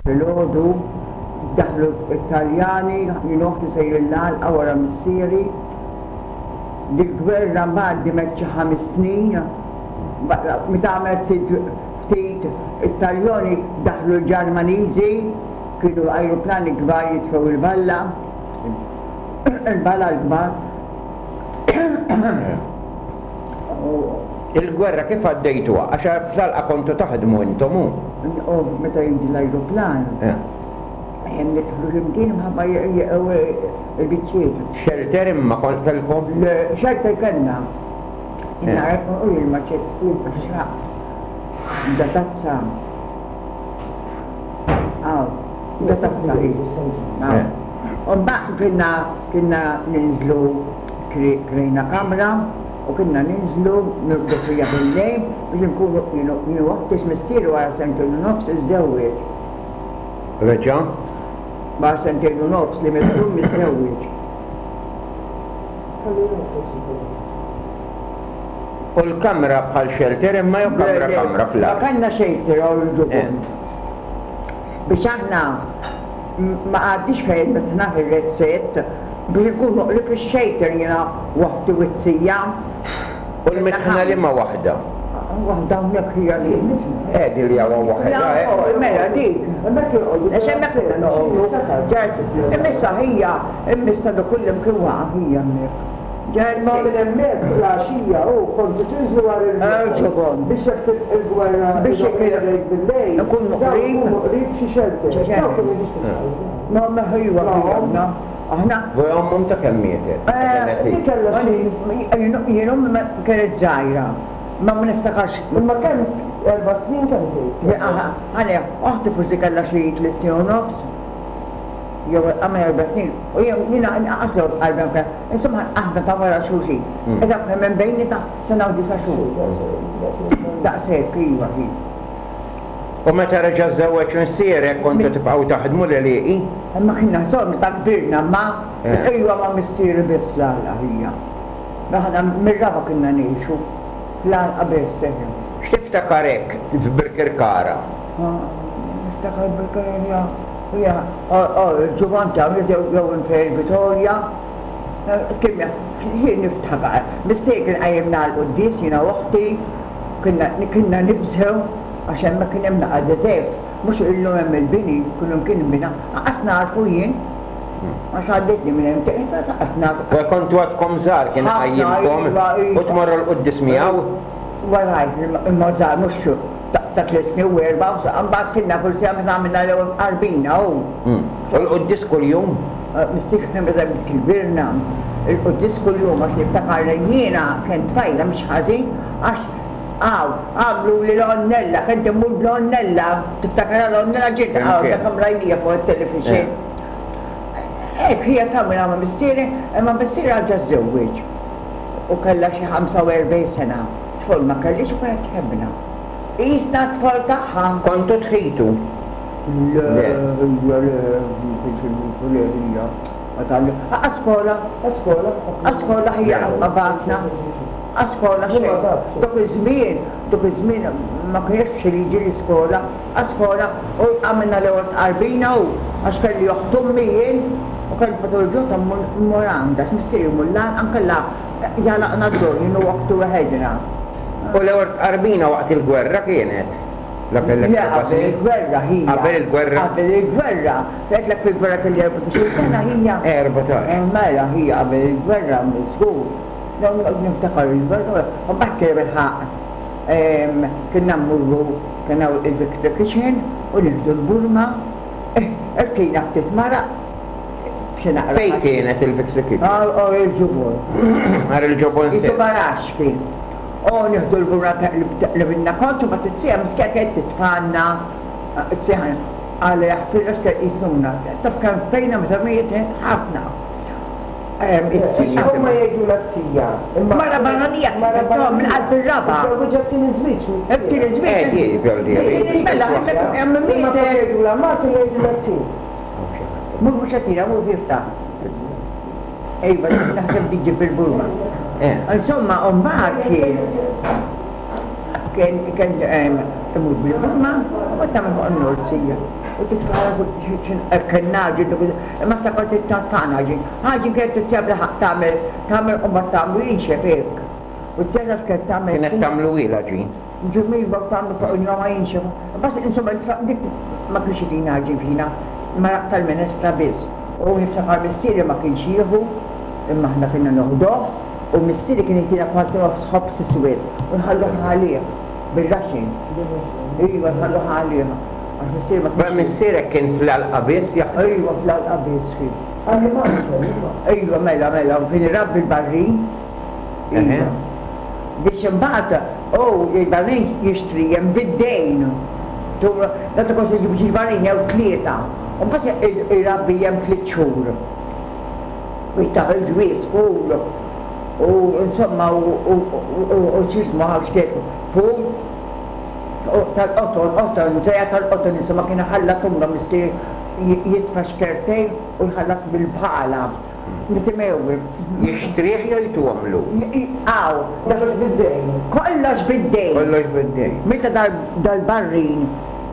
Filgħodu daħlu t-Taljani, jien u oħti sejrin l-għalqa wara missieri. Dil-gwerra mbagħad dimet xi ħames snin. Meta għamel ftit ftit it-Taljoni daħlu l-Ġermaniżi, kienu ajruplani kbar jitfgħu il-balla, il-balla l-kbar. Il-gwerra kif għaddejtuha? Għax fl-għalqa kontu taħdmu intom u. U meta jiġi l-ajruplan, hemm nidħlu xi mkien imħabba jeqgħu il-biċċiet. Xelter imma kellkom? Le, xelter kellna. U jien ma xraqt. Da tazza. Aw, da tazza hi. U mbagħad kienna kienna ninżlu krejna kamra u kienna ninżlu nirqdu fiha bil-lejl biex inkunu jien u oħti x'missieri wara sentejn u nofs iżżewweġ. Reġa'? Wara sentejn u nofs li miet ommi żżewweġ. U l-kamra bħal xelter imma jew kamra kamra fl-art? Ma kellna xelter hawn il-ġubon. Biex aħna ma qgħadniex fejn mitna fir-rezzett biex inkunu qrib ix-xejter jiena waħdi u t-tija. U l-mitħna liema waħda? Waħda hawnhekk hija li. Eh din li hawn waħedha eh. Mela dik. Għax hemmhekk konna noqogħdu. Imma issa hija, imma issa dak kullimkien waqa' hija hemmhekk. Imma minn hemmhekk fl-għaxija hu kontu tinżlu għar il-ġobon. Biex jekk tilq il-gwerra biex jekk il-lejl bil-lejl. Ikunu qrib. Ikunu qrib xi xelter. Dawk kienu jiġu Ma ma ħajwa aħna. Aħna. Voi ommhom ta' kemm mietet? Di kellha xi. Jien ommi ma kienet żgħira. Ma ma niftakarx. Imma kemm erba' snin kemm tgħid? Ħa oħti forsi kellha xi tliet snin u nofs. Jew għamel erba' snin u jiena inqas l qalbi anke insomma aħna ta' wara xulxin. Qiegħda kemm hemm bejnietna sena u disa' xhur. Daqshekk iva hi. U meta reġa' żżewweġ missierek kontu tibqgħu taħdmu l-għelieqi? Imma kienna sor meta kbirna imma iva ma' missieri biss fl-għalqa hija. Aħna mir-raba' kienna ngħixu fl-għalqa biss eħe. X'tiftakar hekk f'Birkirkara? Niftakar Birkirkara hija il-ġuban ta' jew Infer Vitorja. Kemm jien niftakar. Missieri kien qajjimna għall-quddies jiena u oħti, kienna nibżgħu għax hemmhekk kien hemm naqa' deżert. Mhux illum hemm il-bini, kullimkien inbina, anqas nagħrfu jien. Għax għaddejtni minn hemm, anqas naf. Kontu għadkom żgħar kien iqajjimkom u tmorru l-quddies miegħu? Warajh, imma żgħar mhux ta' tliet snin u erbgħa, mbagħad kienna forsi meta għamilna l-ewwel tqarbina u. U l-quddies kuljum? Missier meta kbirna, il-quddies kuljum għax niftakar li jiena kien tfajla mhix ħażin għax hawn għamluli l-għonnella, kont immur bl-għonnella, tiftakarha l-għonnella ġiet hawn dak kemm rajnija fuq it-television. Hekk hija tagħmilha ma' missieri, imma missieri reġa' żżewweġ u kellha xi 45 sena. Tfal ma kellhiex u kienet tħebbna. Qisna t-tfal tagħha. Kontu tħitu? Le, hija le, ma kienx inħitu, le hija. Ma tgħallim. A skola. A skola. A skola hija qatt ma bagħatna. A skola xejn. Dak iż-żmien, dak iż-żmien ma kienx xi liġi l-iskola. A skola u għamilna l-ewwel tqarbina u għax kelli oħt ommi jien u kont matul il-ġurnata mmur għandha għax missieri jmur l-għalqa nkella Jagħlaqna d-dur jien u oħti weħedna. U l-ewwel tqarbina waqt il-gwerra kienet? La kellek Le, erba' qabel snin? il-gwerra ħija. Qabel il-gwerra? Qabel il-gwerra. Għedtlek fil-gwerra kelli 14-il sena ħija. 14. Mela ħija qabel il-gwerra żgur. Niftakar il-gwerra, u mbagħad kien bilħaqq kienna mmorru kien hawn il-Victory Kitchen u nieħdu l-burma, irtina ftit maraq, Xi naqra. Fejn kienet il-Victory Kitchen? Għar il-ġobon. Għar il-ġobon stess. Qisu garaxx kien. U nieħdu l-burra taqlibilna kont u mbagħad it-sieħa miskina kienet titfgħalna t-sieħa Alla jaħfirha x'kien qisuna. Taf kemm bkejna meta mietet? Ħafna. It-sieħa. Huma jgħidulha t-sija. Mara barranija kienet, minn qalb ir-raba'. Iżżewwiġha t-tieni żwieġ missier. It-tieni żwieġ. Mela, hemmhekk mietet. Imma flok jgħidulha martu jgħidulha t-si. Mur mhux qed tira, mur jiftaħ. Iva, naħseb li ġib il-burma. Insomma, u mbagħad kien. Kien kien imur bil-ħamma u mbagħad tagħmel fuq in-norzija. U titfagħha fuq kien għaġin dak imma ftakart li tfagħna għaġin. Għaġin kienet titsija bl-ħaqq tagħmel tagħmel u mbagħad tagħmlu jinxef hekk. U t-tija taf x'kienet tagħmel? Kienet tagħmlu hi l-għaġin? Ġimgħa u tagħmlu fuq il-noma jinxef. Imbagħad insomma dik ma kienx itina għaġin fina, maraq tal-minestra biss. U niftakar missieri ma kienx jieħu, imma aħna kienna noħduh, u missieri kien jtina kważi nofs ħobż iswed u nħalluh għalih bir-raxin. Iva, nħalluh għalih. Għax missieri ma kienx. Missierek kien fl-għalqa biss jaħdem? Iva, fl-għalqa biss kien. Annimal kien, iva. Iva, mela, mela, u kien irabbi l-barrin. Iva. Biex imbagħad hu il-barrin jixtrihem bid-dejn. Meta kont iġib xi barrin jew tlieta. U mbagħad irabbihom tliet xhur. U jtah il-ġwież ful u insomma u x'jismu ħa x'kien ful tal-qoton, qoton, żejja tal-qoton insomma kien iħallat umma missier jitfa' xkertejn u jħallat bil-bħala. Nitimgħu. Jixtrih jew jtuhomlu? Hawn. Kollox bid-dejn. Kollox bid-dejn. Kollox bid-dejn. Meta dal-barrin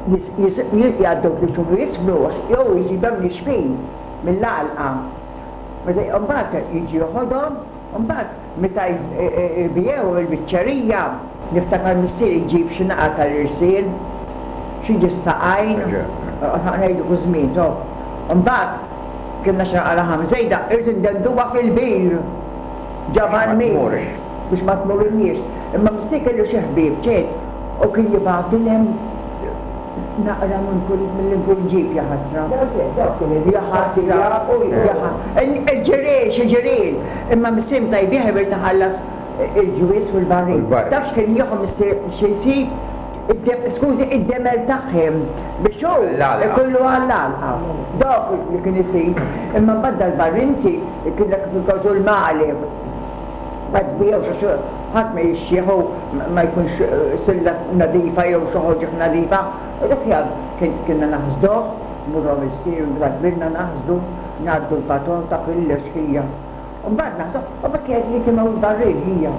jgħaddu tliet xhur u jismnu għax jew jġibhom nixfin mill-għalqa. Meta mbagħad jiġi joħodhom, mbagħad meta jbigħuhom il-biċċerija, niftakar missieri jġib xi naqa tal-irsil, xi ġie s-saqajn, ngħidu kull żmien, to. Mbagħad Kellna xi naqa laħam żejda, irrid indenduha fil-bir ġa barmil biex ma tmurilniex. Imma missier kellu xi ħbieb ċert u kien jibgħatilhem naqra minn kull milli nkun ġib jaħasra. Jaħasra, il-ġirien, xi ġirien. Imma missier meta jbigħ irid iħallas il-ġwież u l-barril. Taf x'kien jieħu missier xi jsib? Skużi, id-demel tagħhim biex hu ikollu għall-għalqa. Dak li kien isir. Imma mbagħad dal-barrinti kienlek fil-kawżu l-magħleb. Mbagħad biegħu xi ħadd ma jixtrih u ma jkunx silla nadifa jew xi ħoġa nadifa. U dak kienna naħsduh, mmorru għand missieri meta kbirna naħsdu, ngħaddu l-patota kollox hija. U mbagħad naħseb, u bekk jitimgħu l-barrin hija.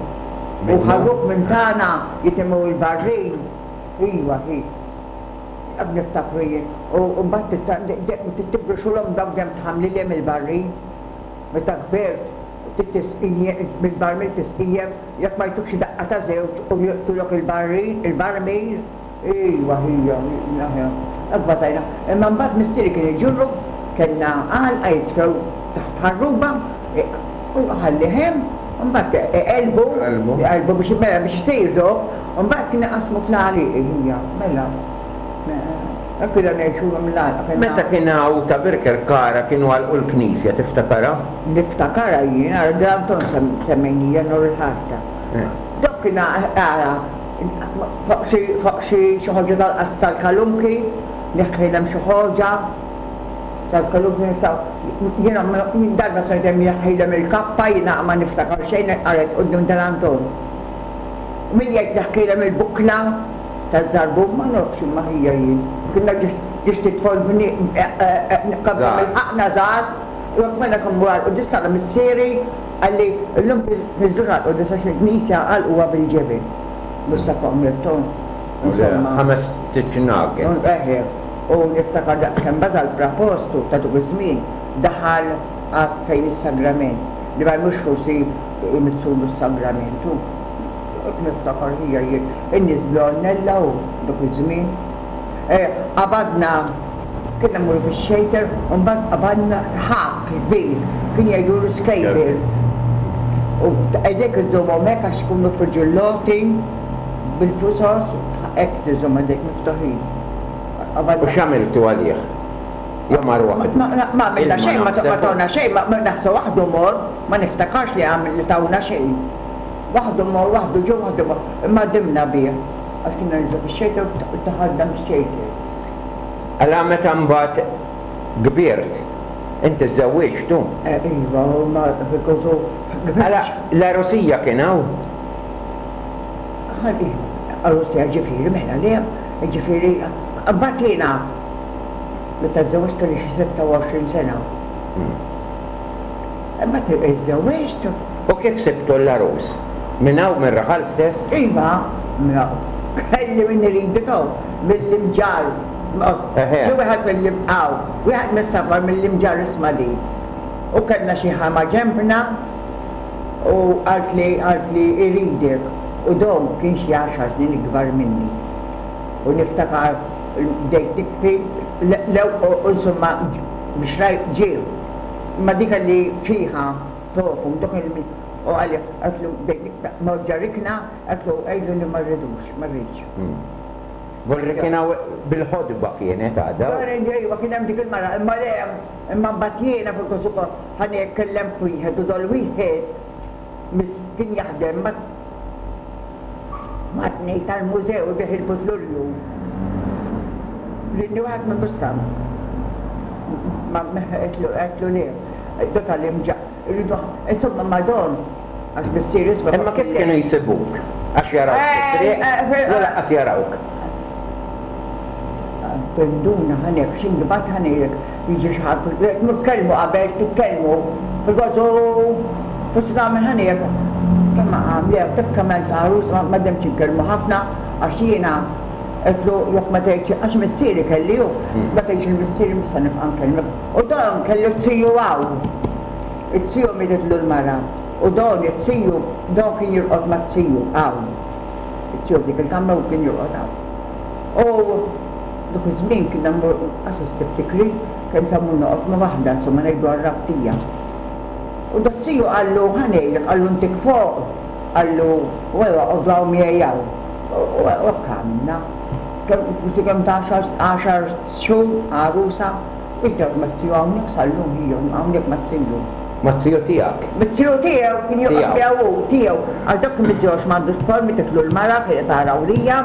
U ħaduk minn tagħna jitimgħu l-barrin. Iva, hi. Dak niftakru jien. U mbagħad tibruxulhom dawk dejjem tħammlilhom il-barrin. Meta kbirt, mill-barmil tisqijjem, jekk ma jtuk xi daqqa ta' żewġ u joqtulok il-barrin, il-barmil. Iva, hija, aħjar. Hekk batajna. Imma mbagħad missieri kien iġurru, kellna għalqa jitfgħu taħt ħarruba u jħallih hemm, u mbagħad iqellbu, iqellbu biex mela biex isir dok, u mbagħad kien iqassmu fl-għalieqi hija, mela. Hekk konna ngħixu mill-għalqa kellna. Meta kien hawn ta' Birkirkara kienu għalqu l-knisja, tiftakarha? Niftakarha jien, ara Dranton semmejnija nhar il-Ħadd. Dok kien ara Fuq xi fuq xi xi ħoġa tal-qas tal-kalunki, neħħilhom xi ħoġa tal-kalunki nistgħu jiena jien darba smajt hemm jneħħilhom il-kappa jiena ma niftakar xejn qaret quddiem tal-Anton. U min jgħid neħħilhom il-bukla taż-żarbun ma nafx imma ħija jien. Kienna ġiex titfol kemm ilħaqna żgħar, mela kemm wara l-quddies tara missieri Qalli, Illum tniżżlux għall-quddies għax il-knisja għalquha bil-ġebel. Mhux sa fuq Mirton. Insomma. Ħamest ġnagen. Eħe. U niftakar daqskemm baża' l-prapostu ta' dak iż-żmien daħal għad fejn is-sagrament, li ma jmurx forsi jmissulu s-sagrament hu. Hekk niftakar ħija jien. In-nies bl-għonnella u dak iż-żmien. Qabadna, kienna mmorru fix-xejter u mbagħad qabadna ħakk kbir, kien jgħidulu scabies. U idejk iżżommhom hekk għax ikunu friġulloti bil-fusos, hekk tiżomm idejk miftuħin. U x'għamiltu għalih? Jew mar waħdu? Ma għamilna xejn, ma tawna xejn, naħseb waħdu mor, ma niftakarx li tawna xejn. Waħdu mor, waħdu ġie, waħdu mor, imma dimna bih. Għax kienna ninżlu fix-xejter u daħalna mix-xejter. Għala meta mbagħad kbirt, inti żżewwiġt u? Iva, u ma fil-kosu. Għala l-għerusija kien hawn? Iva, għerusija ġifieri mela le, ġifieri mbagħad jiena meta żżewwiġt kelli xi 26 sena. Imbagħad iżżewwiġt. U kif sibtu l-għarus? Minn hawn mir-raħal stess? Iva, minn hawn. Kelli min iridu to, mill-Imġarr. Ġie wieħed mill-Imqaw, wieħed mis-safar mill-Imġarr isma' din. U kellna xi ħama ġenbna u qaltli qaltli iridek u Dom kien xi għaxar snin ikbar minni. U niftakar bdejt nibki l-ew u insomma biex rajt ġie. Imma dik li fiha tofu dak il u qalli għedtlu bdejt nibki mort ġa rikna għedtlu għidlu li ma rridux ma rridx. Volri kien hawn bil-ħotba kienet għadha. Iva kien hemm dik il-mara imma le imma mbagħad jiena fil-kosu ħa kellemt wieħed u dol wieħed miss kien jaħdem ma' ma' tnejn tal-mużew ibigħ il-putlurju. Ridni wieħed minn Bustan. Ma għedtlu għedtlu le. Do tal-imġa. Irridu insomma ma' don għax missieri isma' Imma kif kienu jsibuk? Għax jarawk fit-triq? Jew lanqas jarawk? Tinduna ħa ngħidlek, xi mbagħad ħa ngħidlek, jiġi xi ħadd, tmur tkellmu qabel, titkellmu, fil-gozu, forsi tagħmel ħa ngħidlek, kemm għamlek, taf kemm hemm ta' għarus, ma demx inkellmu ħafna għax jiena għedtlu jekk ma tgħidx, għax missieri kelli hu, ma tgħidx lil missieri mhux se nibqa' nkellmek. U dan kellu t-tiju hawn. It-tiju mietitlu l-mara u dan it-tiju, dan kien jorqod mat-tiju hawn. It-tiju f'dik il-kamra u kien jorqod hawn. U dak iż-żmien kienna mmorru qas issib tikri, kemm sa mmur noqgħod ma' waħda, insomma ngħidu għar-rabtija. U daz-ziju qallu, ħa ngħidlek, qallu ntik fuq, qallu, u ejja oqgħodu hawn miegħi hawn. U hekk għamilna. Kemm forsi kemm ta' għaxar xhur għarusa, Iżda mat-ziju hawnhekk sal-lum hi hawnhekk mat-ziju. Mat-ziju tiegħek? Mit-ziju tiegħu, kien joqgħod miegħu hu, tiegħu. Għax dak kien miżżewġ m'għandux tfal, mietitlu l-mara, kienet għarawrija,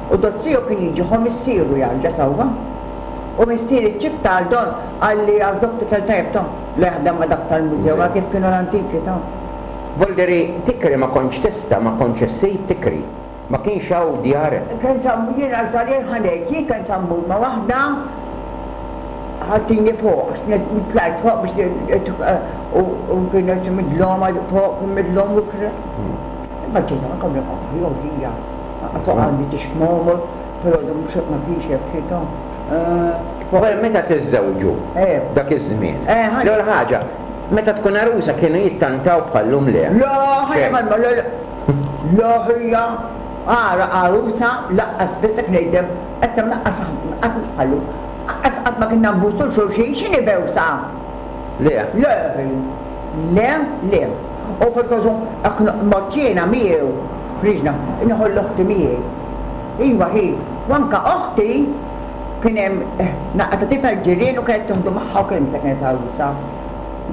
u daz-ziju kien jiġi ħo missieru jarġa' sewwa. U missieri ċ-ċibta għal don, qalli għax dok tifel tajjeb ta', la jaħdem ma' dak tal-mużew, għal kif kienu l-antiki ta'. Volderi, tikri ma kontx tista', ma kontx issib tikri. Ma kienx hawn djar. Kemm sa mmur, jien għax dal-jien ħa ngħid, jien kemm sa mmur ma' waħda ħadtini fuq, għax tlajt fuq biex u kienet midloma fuq, kien midlom u kre. Imma ġejt anke mill-qoħ, jew hija. Fuq għandi tixmomor, però mhux ma kienx hekk ħita. Wara meta tiżżewġu dak iż-żmien. L-ewwel ħaġa, meta tkun għarusa kienu jittantaw bħal-lum le? Le, ħajja le, le. Le ħija, ara għarusa laqqas biss qed ngħidlek, qed hemm laqqas qatt mhux bħal-lum. Laqqas qatt ma kienna nbusu 'l xulxin, x'inhi bewsa? Le. Le ħi. Le, le. U fil-każ hekk mort jiena miegħu, ħriġna, nieħu 'l oħti miegħi. Iva hi, u anke oħti kien hemm naqra ta' tifel ġirien u kienet tieħdu magħha wkoll meta kienet għarusa.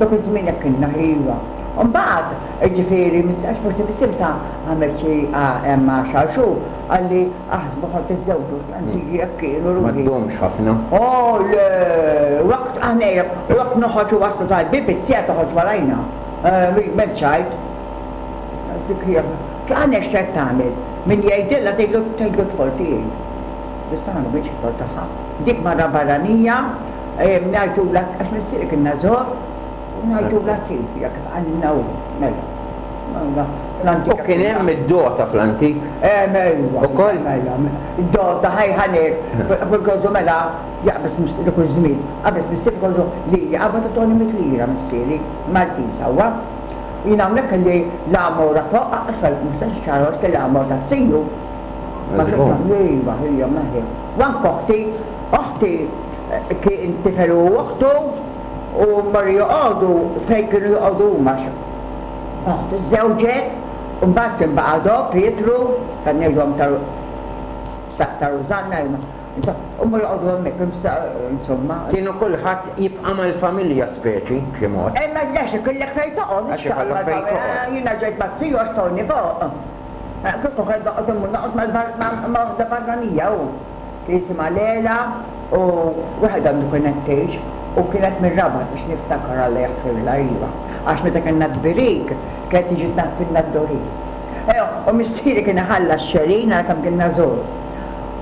Dak iż-żmien hekk kienna hi iva. U mbagħad, jiġifieri, għax forsi missieri ta' għamel xi hemm għaxar xhur, qalli aħsbu ħa tiżżewġu, l-antiki hekk kienu ruħi. Ma ddumx ħafna. Oh le, waqt aħna waqt noħorġu waslu tal-bieb it-tija toħroġ warajna. M'hemmx ċajt. Dik hija. Aħna x'qed tagħmel? Min jgħidilha tgħidlu tgħidlu t-tfal tiegħi. Biss aħna ma kienx it-tfal tagħha. Dik mara barranija, ngħidulha għax missieri kien nażor, u ngħidulha zi, hija kif qalilna hu, mela. U kien hemm id-dota fl-antik? Hemm ejwa. Ukoll? Mela, id-dota ħaj ħanek, fil-gożu mela jaqbeż dak iż-żmien, qabeż missieri kollu li qabad u toni mit lira missieri, Maltin sewwa. Jien hawnhekk kelli l-għamora fuq, għax ma nistax nixxarha għax kelli l-għamora taz-ziju. Iva, hija meħi. U anke oħti, oħti kien tifel u oħtu u marru joqogħdu fejn kienu joqogħdu huma. Oħtu żżewġet u mbagħad kien baqa' Do Pietru, kan ngħidhom ta' Rużanna, U mmorru joqogħdu hemmhekk, insomma. Kienu kulħadd jibqa' mal-familja speċi, b'xi mod. Imma għax ikollek fejn toqgħod, mhux Għax ikollok fejn toqgħod. Jiena ġejt mat-tiju għax tawni fuq. Kieku kelli noqgħod immur noqgħod ma' waħda barranija hu. Kien jisimha Lela u wieħed għandu kienet tgħix u kienet mir-Rabat biex niftakar Alla jaħfirlha iva. Għax meta kellna t-tbirik kienet tiġi tnaddfilna d-dorin. U missieri kien iħallas xelin għal kemm kienna żgħur.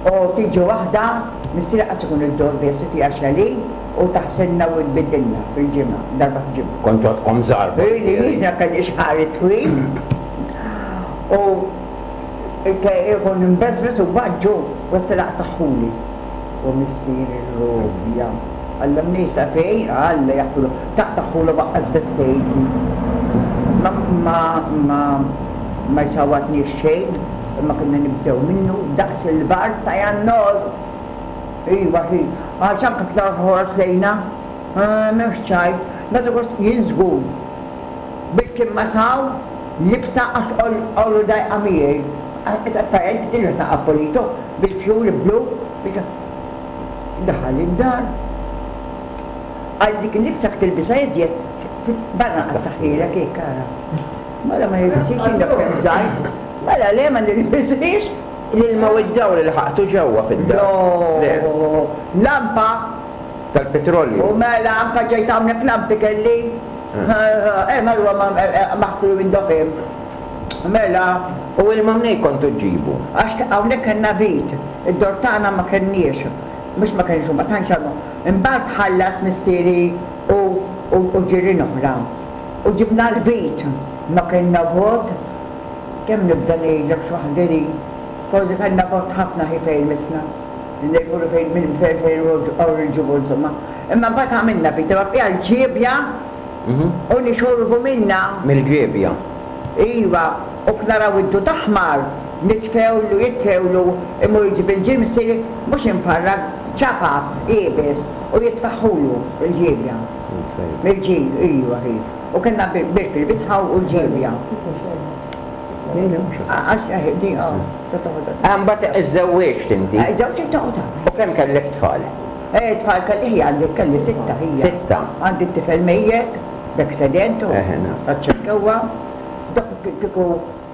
U tiġi waħda, missieri qas ikun id-dor biss, itiha xelin u taħsilna u tbiddilna fil-ġimgħa, darba fil-ġimgħa. Kontu għadkom żgħar Ili, jiena kelli xagħri twil u. Ikun imbeżbeż u baġġu u għedtilha aqtagħhuli. U missieri rrobja. Alla mnejsa fejn, Alla jaħfirlu, taqtagħhulu baqqas biss tgħidli. Ma ma ma ma jsawwatniex xejn, imma konna nibżgħu minnu daqs il-bard ta' Jannor. Iva hi, għax anke ktar ħoros lejna. M'hemmx ċajt. Nagħtu gost jien żgur. Bil-kimma saw, libsa għax għolu dajqa miegħi. Apparenti tilbes naqra pulito, bil-fjuri blu, Daħal id-dar. Qalli dik il-libsa jekk tilbisha iżjed, barra nqattagħhielek hekk ara. Mela ma nilbishiex jien dak kemm żgħir. Mela le ma nilbishiex. L-ilma u d-dawl ilħaqtu ġewwa fid-dar? Le. Lampa. Tal-petrolju. U mela anke ġejt hawnhekk lampi kelli. Eh mela huwa maħsul window film. Mela. U ilma mnejn kontu ġġibu? Għax hawnhekk kellna vit, id-dor tagħna ma kellniex. Mhux ma kellniex u ma tantx għandna. Imbagħad ħallas missieri u u ġirien oħra. U ġibna l-vit. Ma kellna vot. Kemm nibda ngħidlek x'waħda li. Kważi kellna vot ħafna hi fejn mitna. Ngħidulu fejn minn fejn fejn il-ġubu insomma. Imma mbagħad għamilna vit, imma fiha l-ġiebja u nixorbu minnha. Mill-ġiebja. Iva, u naraw id-dud aħmar, nitfgħulu, jitfgħulu, imur iġib il-ġir missieri, mhux imfarrak, ċapap, iebes, u jitfagħhulu l-ġiebja. Mill-ġir, iva, hi. U kellna bir fil-bitħa u l-ġiebja. Mbagħad iżżewwiġt inti. Iżżewġt toqgħod. U kemm kellek tfal? Eh, tfal kelli ħija għandi kelli sitta ħija. Sitta. Għandi t-tifel mejjet, b'accident u taċ-ċirkewwa. Dok kieku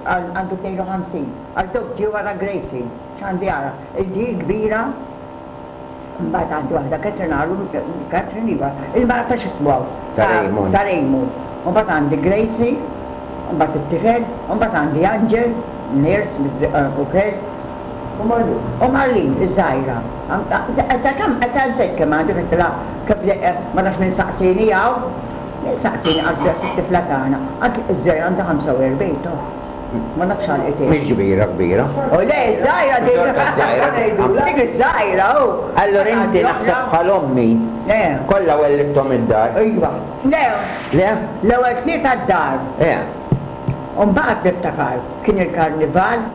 għandu 52. Għal dok ġie wara Gracie. X'għandi ara? Il-di kbira Mbagħad għandi waħda Catherine għalu, Catherine iva, il-mara ta' x'ismu hawn? Ta' Raymond. Ta' Raymond. U mbagħad għandi Gracie, u mbagħad it-tifel, u mbagħad għandi Angel, nurse ukoll. U Marlene. U Marlene, iż-żgħira. Ta' kemm, ta' nsejt kemm għandi, għedtilha kemm ma nafx min saqsieni hawn. Min saqsieni qaltli daqs it-tifla tagħna. Qaltli iż-żgħira għandha 45 toh. Ma nafx għalqet Mhix kbira kbira. U le, żgħira dik. Xorta żgħira. Dik iż-żgħira hu. Allura inti naħseb bħal ommi. Le. Kollha wellidthom id-dar. Iva. Le. Le? L-ewwel tlieta d-dar. Eh. U mbagħad niftakar kien il-karnival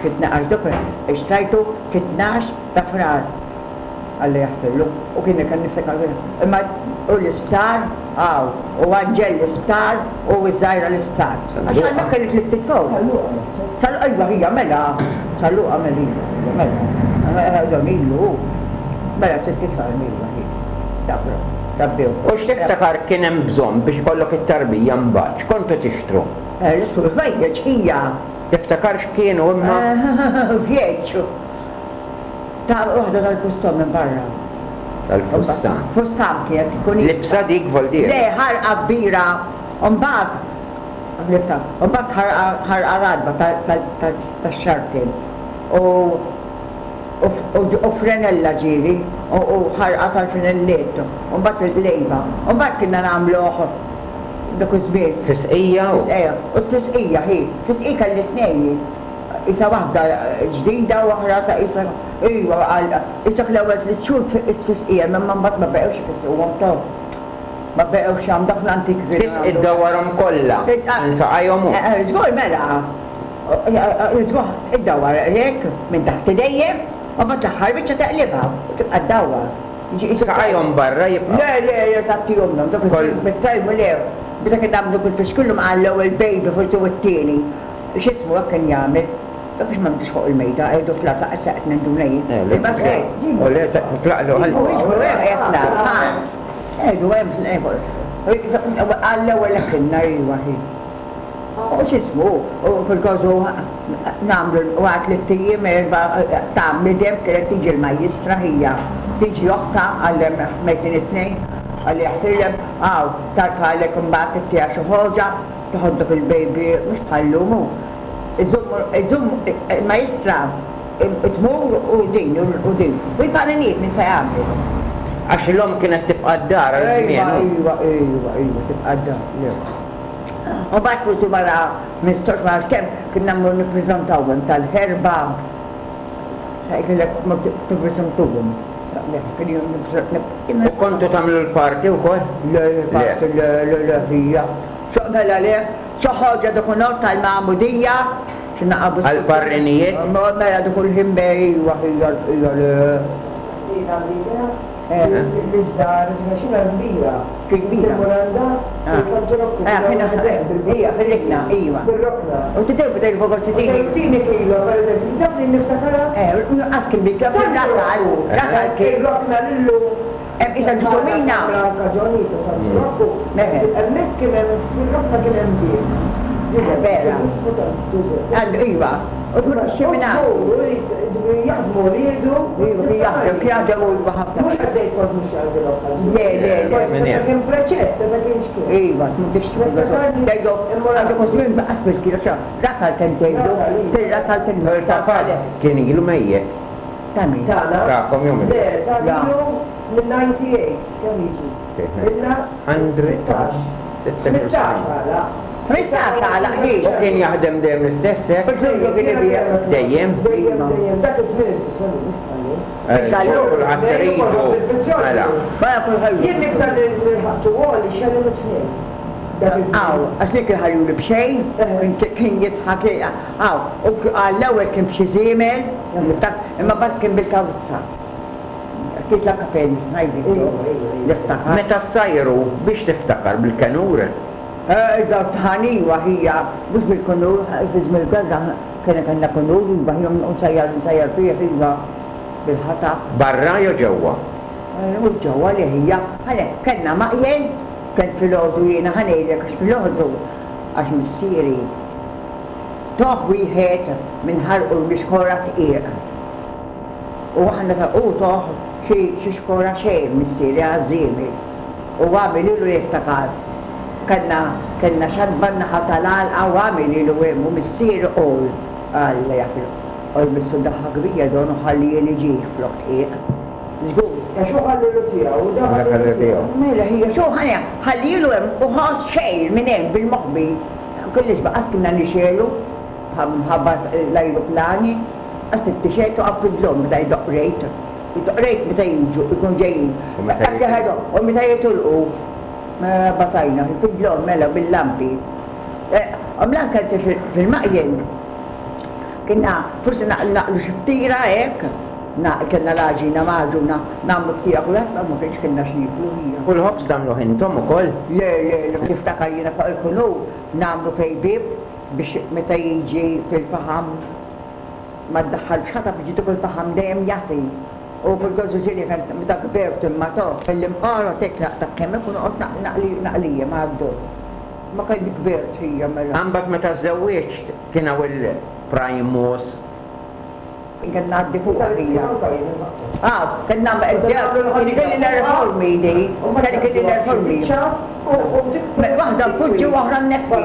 fit-tnax dok xtrajtu fit-tnax ta' Frar. Alla jaħfirlu. U kien hekk niftakar imma u l-isptar hawn, u Anġel l-isptar u ż-żgħira l-isptar. Għax għandna kelli tliet itfal. Sa Luqa iva hija mela, Sa Luqa mela iva, mela. Dan ilu hu. Mela sitt itfal iva hi. Dak rabbew. U x'tiftakar kien hemm bżonn biex ikollok it-tarbija mbagħad? X'kontu tixtru? Nixtru l-ħwejjeġ hija. Tiftakar x'kienu imma? Vjeġġ. Ta' waħda tal-fustan minn barra. Tal-fustan. Fustan kienet tkun. Libsa dik voldier? Le, ħarqa kbira. U mbagħad libsa, u mbagħad ħarqa ħarqa ratba tax-xartin. U u frenella ġieli, u ħarqa tal-frenelliet, u mbagħad il-qlejba. U mbagħad kienna nagħmluh dak iż-żmien. Fisqija u? U tfisqija, hi. Fisqija kelli tnejn jien. Qisha waħda ġdida u oħra ta' qisha iva għal qisek l-ewwel tliet xhur tfisqihom imma mbagħad ma beqgħux ifisquhom toh. Ma beqgħux jagħmlu dak l-antik kienu Tfisqi jagħmlu. ddawwarhom kollha minn saqajhom u. Żgur mela. Żgur iddawwar hekk minn taħt idejjem u mbagħad l-aħħar biċċa teqlibha u tibqa' ddawwar. Saqajhom barra jibqgħu. Le le le tgħattihomlhom dak iż-żmien bit-tajm le. Meta kien nagħmlu kull fixkillhom għall-ewwel baby forsi u t-tieni. X'ismu hekk kien jagħmel. Dak biex ma nbdiex fuq il-mejda, qegħdu fl-art lanqas se qed ninduna jien. Il-basket. U le tlaqlu ħalli. U jiġbru hemm qiegħed fl-art, ha. Qegħdu hemm għall-ewwel hekk ilna iva hi. U x'ismu, u fil-kosu nagħmlu wara tlitt ijiem erba' ta' midem kienet tiġi l-majjistra hija. Tiġi oħtha għal mejtin it-tnejn, Alla jaħfirlem, hawn tarfagħlek imbagħad ittiha xi ħoġa. Toħodlok il-baby mhux bħal llum hu. Iżomm iżomm il-majstra tmur u din u din. U l-paninijiet min se jagħmel? Għax l-omm kienet tibqa' d-dar għal żmien hu. Iva, iva, iva, tibqa' d-dar, le. U mbagħad forsi wara 15 ma nafx kemm kien mmur nippreżentawhom tal-ħerba. Kellek tippreżentahom. U kontu tagħmlu l-party wkoll? Le, l-party le, le, le ħija. Xo mela le, xi ħaġa dak nhar tal-magħmudija, xi naqabu. Għall-parrinijiet? Mela dak il-ħin ejwa ħija l-bqija le. Jien għandi idea li ż-żgħar, għax jiena kbira. Kbira. Immur għandha fejn Santu Rokku. Ija, fil-rokna, iva. Fir-rokna. U tidher bdejt forsi tini. U tini kilo, pereżempju, taf li niftakarha? Eh, nuqqas kien bil-kilo fir-raħal, raħal kien. Ir-rokna lillum. Hemm qisha ġusomina. Franka Ġoni ta' Santu Rokku. Hemmhekk kien hemm, fir-rokna kien hemm bieb. Vera. Ismu ta' Ġużeppi. Iva. U tkun ix-ximina. Jaħdmu wliedu. Iva, kien jaħdem, kien jaħdem u iva ħafna. Mhux qed ngħid kont mhux jgħaddilhom ħażin. Le, le, le. Forsi seta' kien preċett, seta' kien x'kien. Iva, tmur tixtri. Tgħidu, għandek żmien baqas bil-kilo, xa, ratal kemm tgħidu, tir-ratal kien. Il-papa kien ilu mejjet. Ta' min? Tagħna? Tagħkom jew min? Le, tagħna ilu minn 98, kemm jiġi? Ilna 16. 15 għalaq. 15 għalaq, hi. U kien jaħdem dejjem l-istess hekk? Fil-Lulju kien ibigħ. Dejjem? Dejjem, dejjem. Dak iż-żmien il-petrolju mhux bħal-lum. Bil-gallun. Kulħadd iridu. Mela. Mela kulħadd. Jien l-iktar li lħaqtu għoli xellu tnejn. Dak iż-żmien. Aw, għax dik il-ħajjuli b'xejn, kien jidħak, aw, u għall-ewwel kien b'xi żiemel, imma mbagħad kien bil-karozza. Ftit la kafè ngħidilkom, niftakar. Meta ssajru, biex tiftakar, bil-kenur? Id-dħan iva ħija, mhux bil-kenur, fi żmien il-gwerra kien kellna kenur iva ħija u nsajjar nsajjar fih iva bil-ħatab. Barra jew ġewwa? Mhux ġewwa le ħija, ħa kellna maqjel, kont filgħodu jiena ħa ngħidlek għax filgħodu għax missieri toh wieħed minn ħarqu l-mixkora dqiq. U aħna ta' u toh xi xi xkora xejn missieri għaż-żiemel. U għamililu jiftakar. Kellna kellna xatba n-naħa tal-għalqa u għamililu hemm u missieri qol Alla jaf il qol missu daħqa kbira donu ħallieli ġieħ flok dqiq. Żgur. Għax hu ħallielu tiegħu u da ħallielu tiegħu. Mela hija x'hu ħa ħallielu hemm u ħass xejn minn hemm bil-moħbi. Kellix baqas kienna nixegħlu mħabba l-ajruplani. Għax trid tixgħel toqgħod fid-dlom meta jdoqq rejt. Jdoqq rejt meta jiġu, ikunu ġejjin. U meta jitilqu. U meta jitilqu. Batajna, fid-dlom mela bil-lampi. Għamla anke fil-maqjel. Kienna forsi naqlu xi ftira hekk, kellna l-għaġina magħġuna, nagħmlu ftira kulħadd ma kienx kellna x'nieklu hija. U l-ħobż tagħmluh intom ukoll? Le, le, le, niftakar jiena fuq il-kunur nagħmlu fejn bieb biex meta jiġi fil-faħam ma ddaħħalx ħatab jiġi dak il-faħam dejjem jagħti. U bil-gożu ġieli kont meta kbirt imma to, fil-imqara tek naqta' kemm ikun noqgħod naqli naqlija ma' għaddu. Ma kont kbirt hija mela. Imbagħad meta żżewwiġt kien hawn il-primus. Kien ngħaddi fuqha hija. Ah, kien nagħmel kien ikelli l-reformi di, kien ikelli l-reformi. Waħda npoġġi u oħra nneħħi.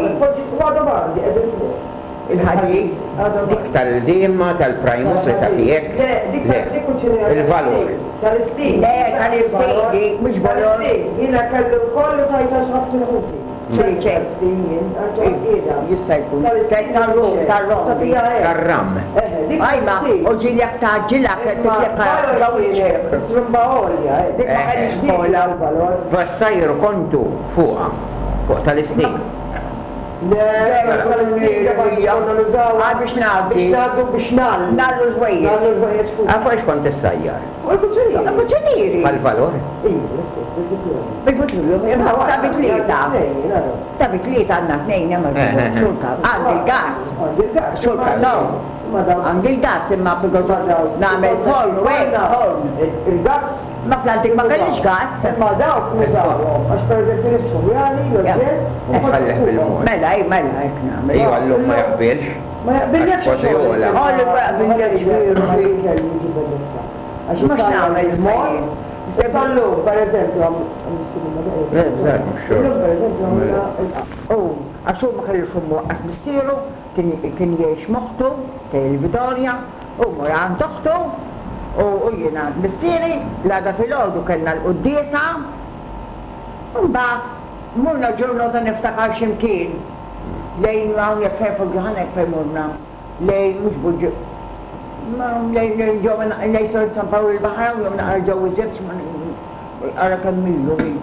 Il-ħadid. Dik tal-dilma tal-primus li tagħti hekk? Le, dik Le. Il-valur. Tal-istil. Le, tal-istil dik, mhux valur. Tal-istil. Jiena kellu kollu tajta x'ħabtu l-ħuti. Ċej, ċej. Tal-istil jien, għal qiegħda. Jista' jkun. Tal-rum, tal-rom. Tar-ram. Dik Ajma, u ġieli jekk tgħaġġilha kien titlekka ġo wiċċek. Trumba għolja, eh. Dik ma kellix kola. Vassajru kontu fuqha, fuq tal-istil. Le, tal-istil konna nużaw. Ah, biex ngħaddi. Biex ngħaddu biex ngħallu. Ngħallu l-ħwejjeġ. Ngħallu l-ħwejjeġ fuq. Ah, fuq ix kont issajjar? Fuq il-kuċinieri. Il-kuċinieri. Bħal-valur? Iva, l-istess, bil-futur. Bil-futur, ta' bitlieta. Ta' bitlieta għandna tnejn hemm xulka. Għandi l-gas. Għandi l-gas. Xulka, no. Għandi l-gas imma nagħmel forn u hekk, forn. Il-gas. Ma fl-antik ma kellix gas. Imma dawk nużawhom, għax pereżempju niftħu jali, l-oġġett. U tħallih bil-mod. Mela, ej, mela, hekk nagħmel. Ejwa llum ma jaqbilx. Ma jaqbillekx. Kważi ogħla. Għoli ma jaqbillekx veru. Għax Mhux nagħmel il-mod. Issa llum, pereżempju, Le, bżar, mhux xogħol. Illum pereżempju għamilna U għax hu ma kellux ommu lanqas missieru, kien jgħix m'oħtu fejn il-Vitorja, u mur għand oħtu u jien għand missieri, l-għada filgħodu kellna l-quddiesa, u mbagħad morna ġurnata niftakar xi mkien. Lejn hawnhekk fejn fuq Ġoħanek fejn morna. Lejn mhux Buġġi lejn ġewwa lejn San Pawl il-Baħar hawn jew naqra ġewwa iżjed ara kemm ilu hi.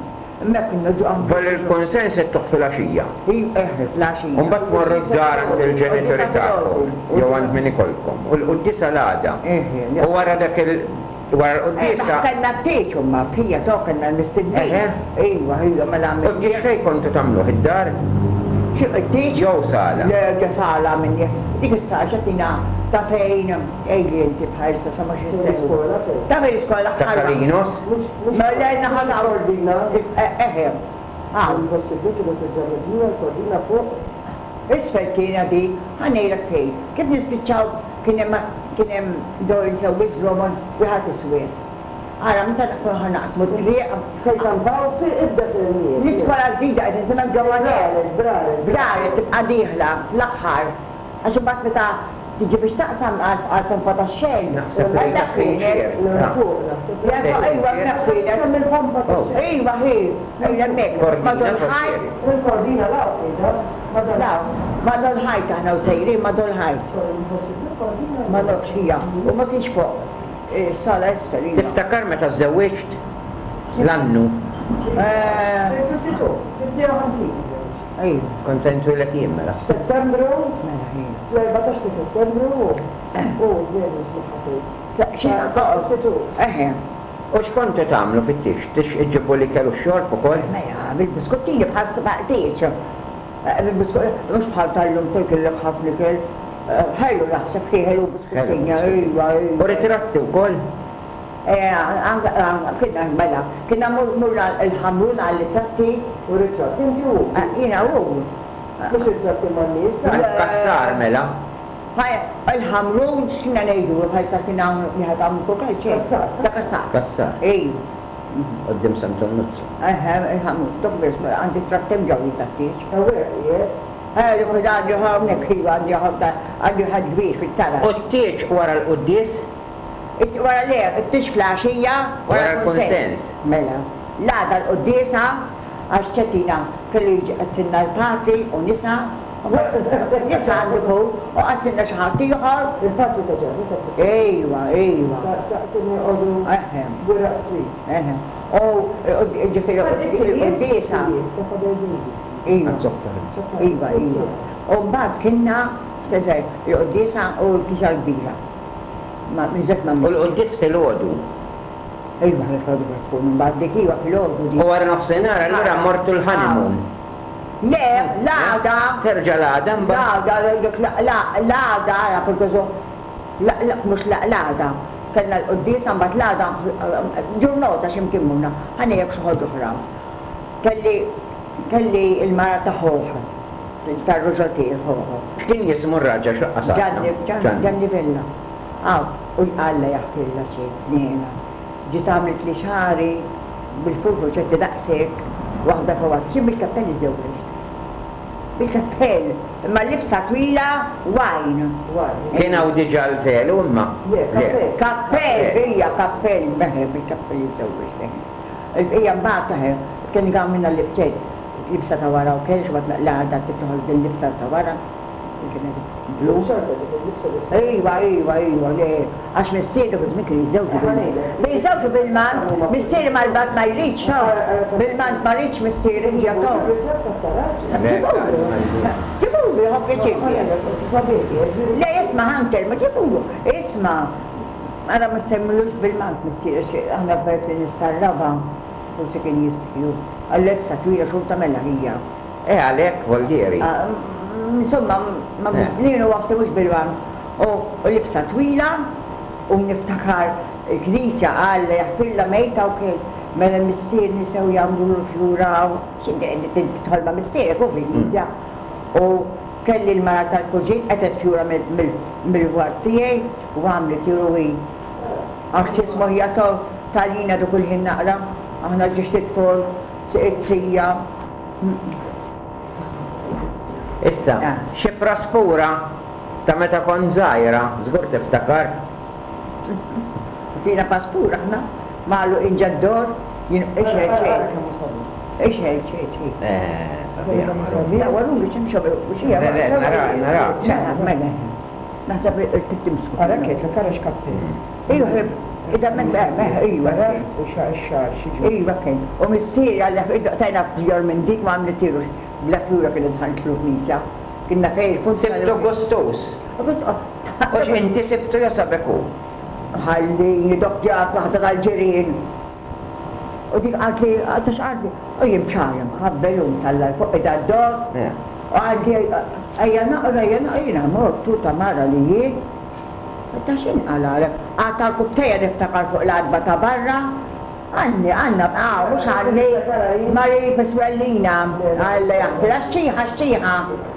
Hemmhekk konna ġo Vol il-kunsens ittuh filgħaxija. Hi eħe fl-għaxija. U mbagħad tmorru d-dar għand il-ġenituri tagħkom jew għand min ikollkom. U l-quddiesa l-għada. U wara dak il wara l-quddiesa. Kellna t-tieġ imma fija to kellna l-mistednin. Eħe. Iva, iva, mela U t-tieġ fejn kontu tagħmluh id-dar? Xi t-tieġ? Jew sala? Le ġo sala minni. Dik is-sala x'għatina ta' fejn għidli inti bħalissa sa ma xi Fejn l-iskola fejn? Ta' fejn l-iskola Ta' Salinos? Mhux Mela naħa ta' il-Kordina. Eħe. Hawn. Impossibbli kienet diġà mibnija l-Kordina fuq. Isfel kienet di, ħa ngħidlek fejn. Kif nispiċċaw kien hemm kien hemm dawn sewwieq żromon wieħed iswed. Ara meta nkunu ħa naqsmu t-triq. Fejn San Pawl fi ibda fil-Miet. L-iskola l-ġdida qed insemmek ġewwa nett. Braret, Braret. Braret tibqa' dieħla fl-aħħar. Għax imbagħad meta tiġi biex taqsam għall-pompa tax-Shell. Naħseb lejn tas-Sinċier. Fuq naħseb. Iva hemmhekk kienet. Hemm il-pompa tax-Shell. Iva hi, hemmhekk. Kordina forsi. Il-kordina 'l hawn qiegħda. Madol. Madol ħajt aħna u sejrin madol ħajt. Ma nafx hija. U ma kienx fuq sala isfel iva. Tiftakar meta żżewwiġt? L-annu. Fil-52, fil-52. Iva. Kont se nitwieled jien mela. F'Settembru, fl-14 ta' Settembru u dejjem nismagħha tgħid. Xi 52. Eħe. U x'kontu tagħmlu fit-tieġ? Tieġ iġġibu l-ikel u x-xorb ukoll? Mela, bil-biskuttini bħal tieġ. Mhux bħal tal-lum tikillek ħafna ikel. Ħelu naħseb hi ħelu biskuttini, iva, iva. U ritratti wkoll? Kienna mela, kienna morna l-Ħamrun għal-ritratti. U ritratti inti u hu? Jiena u hu. Mhux ritratti man-nies? Għand Cassar mela? Il-Ħamrun x'kienna ngħidulu bħalissa kien hawn wieħed hawn ukoll? Cassar. Ta' Cassar. Cassar. Iva. Quddiem Sant'Onnuzzu. Eħe, il-Ħamrun. Dok biss, għandi trattem ġew jien tat-tieġ. Hawnhekk qiegħed? Eh, dik għandi hawnhekk iva għandi għandi wieħed kbir fit-taraġ. U t-tieġ wara l-quddies? Wara le, it-tieġ fl-għaxija wara l-kunsens. Mela. L-għada l-quddiesa għax ċettina kellu jiġi qadsilna l-patri u nisa. Nisa għandu jkun u qadsilna xi ħadd ieħor. Il-patri ta' Ġanni ta' Tifsir. Ejwa, ejwa. Ta' kienu joqogħdu Eħe. Gwiraq Street. Eħe. U ġifieri l-quddiesa. Ta' Father David. Iva. Iva, iva. U mbagħad kienna, il-quddiesa u l-knisja l-kbira. Ma miżet ma' U l-quddies filgħodu. Iva, filgħodu kif tkun, imbagħad dik iva filgħodu dik. U wara nofsinhar allura mortu l-honeymoon. Le, l-għada. Terġa' l-għada mbagħad? L-għada, dik l-għada, ara kont mhux l-għada. Kellna l-quddiesa mbagħad l-għada ġurnota xi mkien morna. Ħa ngħidlek xi ħaġa oħra. Kelli kelli l-mara ta' ħuh, tar-ruġel tiegħi ħuh. X'kien jismu r-raġel x'laqqas għadna? Ġanni, Ġanni Vella. Aw, u Alla jaħfirla xi ħniena. Ġiet għamlitli xagħri bil-furfur ċerti daqshekk, waħda fuq waħda. Xi bil-kappell iżżewwiġt. Bil-kappell, imma libsa twila wine. Kien hawn diġà l-velu imma? Le, kappell. Kappell, hija kappell, meħe bil-kappell iżżewwiġt, eħe. Il-bqija mbagħad eħe, kien għamilna libċet, libsa ta' wara u kellx, mbagħad l-għada trid toħroġ bil-libsa ta' wara. Blu. Xorta dik il-libsa dik. Iva, iva, iva, le, għax missieri dak iż-żmien kien jiżżewġu bil-mant. Jiżżewġu bil-mant, missieri mal-bat ma jridx, bil-mant ma jridx missieri hija to. Ġibulu, ġibulu, jieħu pjaċir. Le, isma' ħa nkellmu, ġibulu, isma' ara ma semmilux bil-mant missieri, aħna peress li nies tar-raba' forsi kien jistħi hu. Għal-lebsa twila xorta mela hija. Eh għalhekk voldieri. Insomma, jien u oħti mhux bil-waqt u libsa twila u niftakar il-knisja Alla jaħfirlha mejta u kien mela missieri sew jagħmlulu fjura u tidħol ma' missierek hu fil-knisja u kelli l-mara tal-kuġin qetgħet fjura mill-ward tiegħi u għamlet hi għax x'ismu hija talina dak il-ħin naqra aħna ġiex tidħol sija. Issa, xi praspura ta' meta kont żgħira, żgur tiftakar. Fina paspura aħna, magħluqin ġad-dor, jien ixgħel ċejt. Ixgħel ċejt, hi. Eh, sabiħ. Sabiħa. Waruli x'imxew Le, le, nara, nara. Mela, mela. Naħseb irtib timsku. Ara kif, ara x'kappell. Iva, ida minn iva. Ara u xagħar xi ġmiel. Iva kien. U missieri għalla tajna fjor minn dik ma għamlitilux. Bla fjura kienet dħaltlu l-knisja. Kienna fejn il-fuq. Sibtu gustus. U x'inti sibtu jew sabek hu? Ħallini dok ġrat waħda tal-ġirien. U dik qaltli, ta' x'qaltli? U jien b'xagħri mħabbel u mtalla' 'l fuq qiegħda ddoqq. U qaltli, ejja naqra, ejja naqra, jiena mort u ta' mara li jien. Ta' x'inqalgħalek? Qgħadt għall-kubtejja niftakar fuq l-għatba ta' barra. Għanni, għandna, ah, mhux għanni, Marie Piswellina, Alla jaħfirha, x-xiħa, x-xiħa,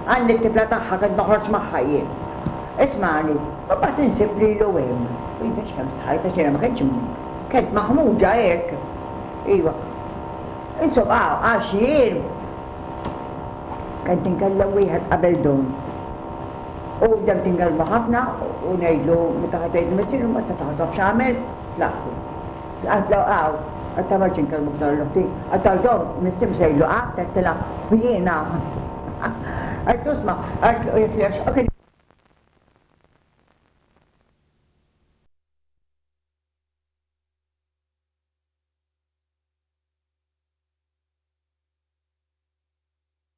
għanni t-tifla tagħha kont noħroġ magħha jien. Ismagħni, u mbagħad insib lilu hemm. U jien tafx kemm stħajt għax jiena ma kontx kont maħmuġa hekk. Iva. Insomma, ah, għax jien kont inkellem wieħed qabel Dun. U bdejt inkellmu ħafna u ngħidlu meta ħa tgħidlu missieru mbagħad se taf x'għamel, tlaqtu. Għedtlu hawn, għedtha ma rridx inkellmu iktar 'l oħti. Għedtha żomm, missier mhux se jgħidlu qatt, għedtilha u jiena. Għedtlu isma', għedtlu jekk u kien.